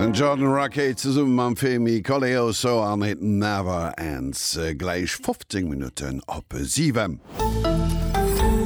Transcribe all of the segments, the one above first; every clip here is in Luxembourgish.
Den Jordan Rakei zesumme mam Femi Koleoso an It Never Ends. Gläich 15 Minutten op 7.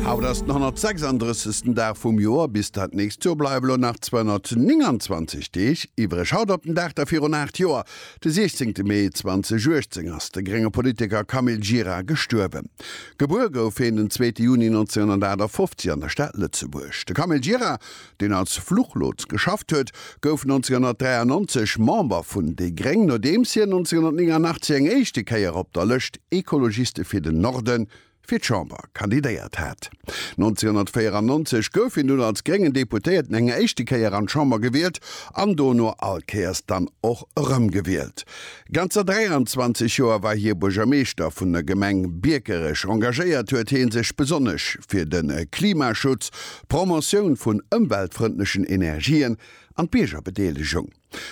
Haut ass den 136. Dag vum Joer. Bis dat nächst Joer bleiwe lo nach 229 Deeg iwwreg. Haut op den Dag da virun 8 Joer, de 16 Mee 2018, ass de grénge Politiker Camille Gira gestuerwen. Gebuer gouf hien den zweete Juni 1958 an der Stad Lëtzebuerg. De Camille Gira deen als Fluchlots geschafft huet, gouf 1993 Member vun déi Gréng, nodeems hien 1989 eng éischte Kéier op der Lëscht Ecologiste fir den Norden fir d'Chamber kandidéiert hat. 1994 gouf hien dunn als gréngen Deputéierten eng éischte Kéier an d'Chamber gewielt an dono all Kéiers dann och erëmgewielt. Ganzer 23 Joer war hie Buergermeeschter vun der Gemeng Biekerech. Engagéiert huet hie sech besonnesch fir de Klimaschutz, d'Promotioun vun ëmweltfrëndlechen Energien an d'Biergerbedeelegung.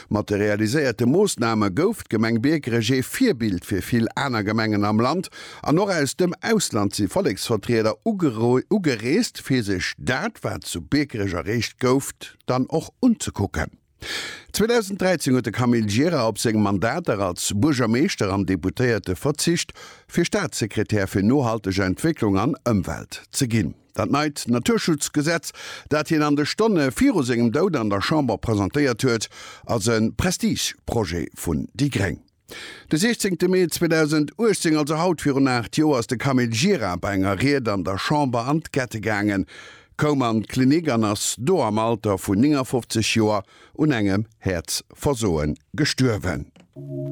Mat de realiséierte Moossname gouf d'Gemeng Biekerech ee Virbild fir vill aner Gemengen am Land an och aus dem Ausland si Volleksvertrieder ugereest, fir sech dat, wat zu Biekerech erreecht gouf, dann och unzekucken. 2013 huet de Camille Gira op seng Mandater als Buergermeeschter an Deputéierte verzicht, fir Staatssekretär fir nohalteg Entwécklung an Ëmwelt ze ginn. Dat neit Naturschutzgesetz, dat hien an de Stonne viru sengem Doud an der Chamber presentéiert huet, ass e Prestigeprojet vun déi gréng. De 16 Mee 2018, also haut virun 8 Joer, ass de Camille Gira bei enger Ried an der Chamber an d'Kette gaangen, koum an d'Klinik an ass do am Alter vun 59 Joer un engem Häerzversoe gestuerwen.